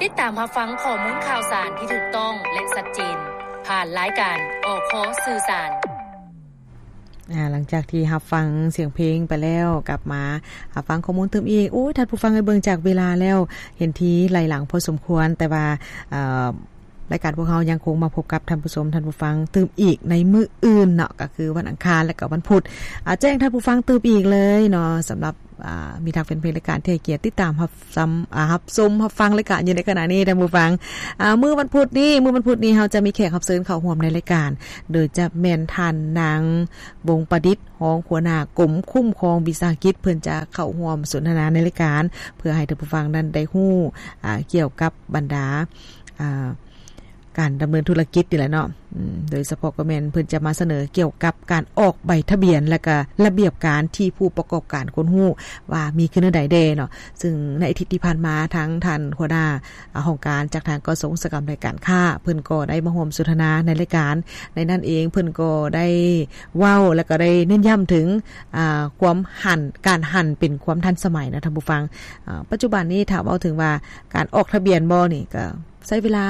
ຕິດຕາມຮັບຟັງຂໍ້ມູນຂ່າວສານທີ່ຖືກຕ້ອງ ແລະ ຊັດເຈນ ຜ່ານລາຍການ ອຄ ສື່ສານ. ອ່າ ຫຼັງຈາກທີ່ຮັບຟັງສຽງເພງໄປແລ້ວ ກັບມາຮັບຟັງຂໍ້ມູນຕື່ມອີກ. ໂອ້ຍ ທ່ານຜູ້ຟັງເອີຍ ເບິ່ງຈາກເວລາແລ້ວ ເຫັນທີໄຫຼຫຼັງພໍສົມຄວນ, ແຕ່ວ່າ ເອີ ລາຍການພວກເຮົາຍັງຄົງມາພົບກັບທ່ານຜູ້ຊົມ ທ່ານຜູ້ຟັງຕື່ມອີກໃນມື້ອື່ນເນາະ, ກໍຄືວັນອັງຄານ ແລະ ກໍວັນພຸດ. ອາ ແຈ້ງທ່ານຜູ້ຟັງຕື່ມອີກເລີຍເນາະ, ສຳລັບ ອາ ມິດຮັກແຟນເພງລາຍການທີ່ໃຫ້ກຽດຕິດຕາມຮັບຊຳ ອາ ຮັບຊົມຮັບຟັງລາຍການຢູ່ໃນຂະນະນີ້ ທ່ານຜູ້ຟັງ. ອາ ມື້ວັນພຸດນີ້ ມື້ວັນພຸດນີ້ເຮົາຈະມີແຂກຮັບເຊີນເຂົ້າຮ່ວມໃນລາຍການ, ໂດຍຈະແມ່ນທ່ານນາງ ວົງປະດິດ ຮອງຫົວໜ້າກົມຄຸ້ມຄອງວິສາຫະກິດ ເພິ່ນຈະເຂົ້າຮ່ວມສົນທະນາໃນລາຍການ ເພື່ອໃຫ້ທ່ານຜູ້ຟັງນັ້ນໄດ້ຮູ້ ອາ ກ່ຽວກັບບັນດາ ອາ ການດຳເນີນທຸລະກິດນີ້ແຫຼະເນາະ, ອືມ ໂດຍສະເພາະກໍແມ່ນເພິ່ນຈະມາສະເໜີກ່ຽວກັບການອອກໃບທະບຽນ ແລະ ກະລະບຽບການທີ່ຜູ້ປະກອບການຄວນຮູ້ວ່າມີຄືແນວໃດແດ່ເນາະ. ຊຶ່ງໃນອາທິດທີ່ຜ່ານມາ ທາງທ່ານຫົວໜ້າ ອາ ຫ້ອງການຈາກທາງກະຊວງອຸດສາຫະກຳ ແລະ ການຄ້າ ເພິ່ນກໍໄດ້ມາຮ່ວມສົນທະນາໃນລາຍການ. ໃນນັ້ນເອງເພິ່ນກໍໄດ້ເວົ້າ ແລະ ກໍໄດ້ເນັ້ນຢ້ຳເຖິງ ອາ ຄວາມຫັນ ການຫັນເປັນຄວາມທັນສະໄໝນະທ່ານຜູ້ຟັງ. ອາ ປັດຈຸບັນນີ້ຖ້າເວົ້າເຖິງວ່າການອອກທະບຽນບໍ່ນີ້ ກໍໃຊ້ເວລາ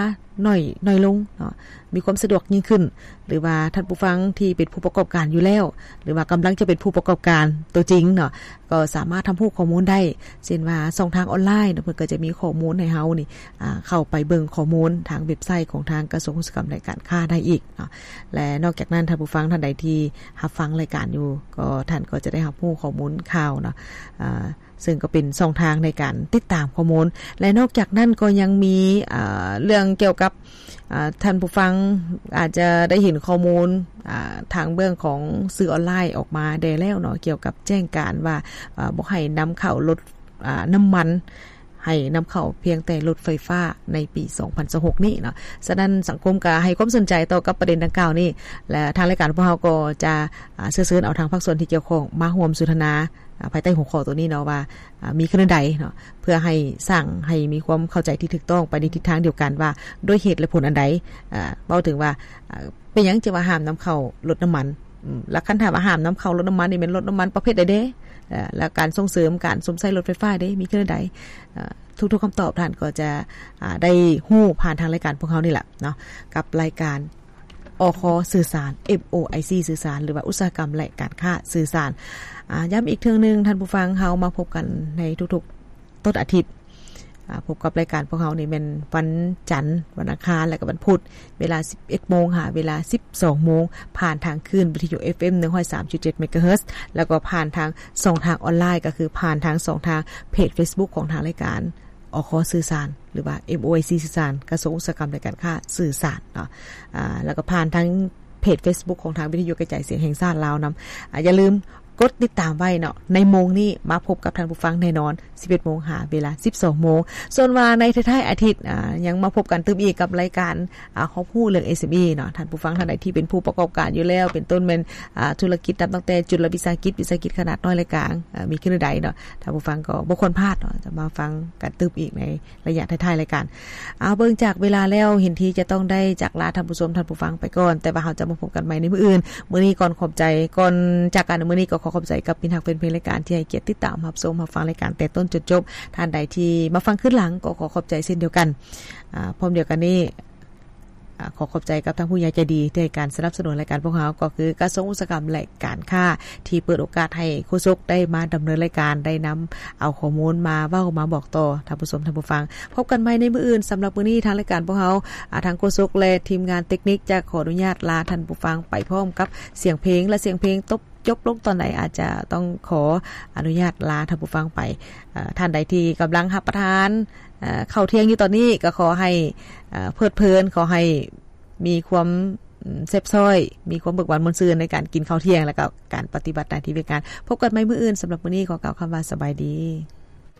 ໜ້ອຍ ໜ້ອຍລົງເນາະ, ມີຄວາມສະດວກຍິ່ງຂຶ້ນ ຫຼືວ່າທ່ານຜູ້ຟັງທີ່ເປັນຜູ້ປະກອບການຢູ່ແລ້ວ ຫຼືວ່າກຳລັງຈະເປັນຜູ້ປະກອບການຕົວຈິງເນາະ ກໍສາມາດຮັບຮູ້ຂໍ້ມູນໄດ້ ເຊັ່ນວ່າຊ່ອງທາງອອນລາຍເນາະ ເພິ່ນກໍຈະມີຂໍ້ມູນໃຫ້ເຮົານີ້ ອາ ເຂົ້າໄປເບິ່ງຂໍ້ມູນທາງເວັບໄຊຂອງທາງກະຊວງອຸດສາຫະກຳ ແລະ ການຄ້າໄດ້ອີກເນາະ. ແລະ ນອກຈາກນັ້ນ ທ່ານຜູ້ຟັງທ່ານໃດທີ່ຮັບຟັງລາຍການຢູ່ ກໍທ່ານກໍຈະໄດ້ຮັບຮູ້ຂໍ້ມູນຂ່າວເນາະ ອາ ເຊິ່ງກໍເປັນຊ່ອງທາງໃນການຕິດຕາມຂໍ້ມູນ ແລະ ນອກຈາກນັ້ນກໍຍັງມີ ອາ ເລື່ອງກ່ຽວກັບ ອາ ທ່ານຜູ້ຟັງອາດຈະໄດ້ເຫັນຂໍ້ມູນ ອາ ທາງເບື້ອງຂອງສື່ອອນລາຍອອກມາແດ່ແລ້ວເນາະ ກ່ຽວກັບແຈ້ງການວ່າ ອາ ບໍ່ໃຫ້ນຳເຂົ້າລົດ ອາ ນ້ຳມັນ, ໃຫ້ນຳເຂົ້າພຽງແຕ່ລົດໄຟຟ້າໃນປີສອງພັນຊາວຫົກນີ້ເນາະ. ສະນັ້ນສັງຄົມກໍໃຫ້ຄວາມສົນໃຈຕໍ່ກັບປະເດັນດັ່ງກ່າວນີ້ ແລະ ທາງລາຍການພວກເຮົາກໍຈະ ອາ ເຊື້ອເຊີນເອົາທາງພາກສ່ວນທີ່ກ່ຽວຂ້ອງມາຮ່ວມສົນທະນາ ອາ ພາຍໃຕ້ຫົວຂໍ້ໂຕນີ້ເນາະວ່າ ອາ ມີຄືແນວໃດເນາະ ເພື່ອໃຫ້ສ້າງໃຫ້ມີຄວາມເຂົ້າໃຈທີ່ຖືກຕ້ອງໄປໃນທິດທາງດຽວກັນວ່າ ດ້ວຍເຫດແລະຜົນອັນໃດ ອາ ເວົ້າເຖິງວ່າ ອາ ເປັນຫຍັງຈຶ່ງວ່າຫ້າມນຳເຂົ້າລົດນ້ຳມັນ ອາ ແລ້ວຄັນຖາມວ່າຫ້າມນຳເຂົ້າລົດນ້ຳມັນນີ້ແມ່ນລົດນ້ຳມັນປະເພດໃດເດ້ ອາ ແລ້ວການສົ່ງເສີມການຊົມໃຊ້ລົດໄຟຟ້າເດ້ ມີຄືແນວໃດ ອາ ທຸກໆຄຳຕອບທ່ານກໍຈະ ອາ ໄດ້ຮູ້ຜ່ານທາງລາຍການພວກເຮົານີ້ແຫຼະເນາະ ກັບລາຍການ ອຄ ສື່ສານ ເອັມໂອໄອຊີ ສື່ສານ ຫຼືວ່າອຸດສາຫະກຳ ແລະ ການຄ້າສື່ສານ. ອາ ຢ້ຳອີກເທື່ອໜຶ່ງ ທ່ານຜູ້ຟັງ ເຮົາມາພົບກັນໃນທຸກໆຕົ້ນອາທິດ ອາ ພົບກັບລາຍການພວກເຮົານີ້ແມ່ນວັນຈັນ, ວັນອັງຄານ ແລະ ກໍວັນພຸດ ເວລາສິບເອັດໂມງຫາເວລາສິບສອງໂມງ ຜ່ານທາງຄື້ນວິທະຍຸ ເອັຟເອັມ ໜຶ່ງຮ້ອຍສາມຈຸດເຈັດ ເມກາເຮີດ ແລ້ວກໍຜ່ານທາງຊ່ອງທາງອອນລາຍ ກໍຄືຜ່ານທາງຊ່ອງທາງເພຈເຟສບຸກຂອງທາງລາຍການ ອຄ ສື່ສານ ຫຼືວ່າ ເອັມໂອໄອຊີ ສື່ສານ ກະຊວງອຸດສາຫະກຳ ແລະ ການຄ້າສື່ສານເນາະ ອາ ແລ້ວກໍຜ່ານທາງເພຈເຟສບຸກຂອງທາງວິທະຍຸກະຈາຍສຽງແຫ່ງຊາດລາວນຳ. ອາ ຢ່າລືມກົດຕິດຕາມໄວ້ເນາະ ໃນໂມງນີ້ມາພົບກັບທ່ານຜູ້ຟັງແນ່ນອນ ສິບເອັດໂມງຫາເວລາສິບສອງໂມງ. ສ່ວນວ່າໃນທ້າຍໆອາທິດ ອາ ຍັງມາພົບກັນຕື່ມອີກກັບລາຍການ ອາ ຮອບຮູ້ເລື່ອງ ເອສເອັມອີ ເນາະ. ທ່ານຜູ້ຟັງທ່ານໃດທີ່ເປັນຜູ້ປະກອບການຢູ່ແລ້ວ ເປັນຕົ້ນແມ່ນ ອາ ທຸລະກິດນັບຕັ້ງແຕ່ຈຸດລະວິສາຫະກິດ, ວິສາຫະກິດຂະໜາດນ້ອຍ ແລະ ກາງ ອາ ມີຄືແນວໃດເນາະ ທ່ານຜູ້ຟັງກໍບໍ່ຄວນພາດເນາະ ຈະມາຟັງກັນຕື່ມອີກໃນ ໄລຍະທ້າຍໆລາຍການ. ເອົາ ເບິ່ງຈາກເວລາແລ້ວ ເຫັນທີ່ຈະຕ້ອງໄດ້ຈາກລາທ່ານຜູ້ຊົມ ທ່ານຜູ້ຟັງໄປກ່ອນ, ແຕ່ວ່າເຮົາຈະມາພົບກັນໃໝ່ໃນມື້ອື່ນ. ມື້ນີ້ກ່ອນຂອບໃຈ, ກ່ອນຈາກກັນໃນມື້ນີ້ກໍຂໍຂອບໃຈກັບມິດຮັກແຟນເພງລາຍການ ທີ່ໃຫ້ກຽດຕິດຕາມຮັບຊົມຮັບຟັງລາຍການແຕ່ຕົ້ນຈົນຈົບ. ທ່ານໃດທີ່ມາຟັງຄືນຫຼັງກໍຂໍຂອບໃຈເຊັ່ນດຽວກັນ. ອາ ພ້ອມດຽວກັນນີ້ ອາ ຂໍຂອບໃຈກັບທາງຜູ້ໃຫຍ່ໃຈດີທີ່ໃຫ້ການສະໜັບສະໜູນລາຍການພວກເຮົາ ກໍຄືກະຊວງອຸດສາຫະກຳ ແລະ ການຄ້າ ທີ່ເປີດໂອກາດໃຫ້ໂຄສົກໄດ້ມາດຳເນີນລາຍການ ໄດ້ນຳເອົາຂໍ້ມູນມາເວົ້າມາບອກຕໍ່ທ່ານຜູ້ຊົມທ່ານຜູ້ຟັງ. ພົບກັນໃໝ່ໃນມື້ອື່ນ. ສຳລັບມື້ນີ້ທາງລາຍການພວກເຮົາ ອາ ທາງໂຄສົກ ແລະ ທີມງານເຕັກນິກ ຈະຂໍອະນຸຍາດລາທ່ານຜູ້ຟັງໄປພ້ອມກັບສຽງເພງ ແລະ ສຽງເພງຕົບ ຈົບລົງຕອນໃດ ອາດຈະຕ້ອງຂໍອະນຸຍາດລາທ່ານຜູ້ຟັງໄປ. ເອີ ທ່ານໃດທີ່ກຳລັງຮັບປະທານ ເອີ ເຂົ້າທ່ຽງຢູ່ຕອນນີ້ ກໍຂໍໃຫ້ ເອີ ເພີດເພີນ, ຂໍໃຫ້ມີຄວາມ ອາ ແຊບຊ້ອຍ, ມີຄວາມເບີກບານມ່ວນຊື່ນໃນການກິນເຂົ້າທ່ຽງ ແລະ ກໍການປະຕິບັດໜ້າທີ່ວຽກງານ. ພົບກັນໃໝ່ມື້ອື່ນ. ສຳລັບມື້ນີ້ຂໍກ່າວຄຳວ່າສະບາຍດີ.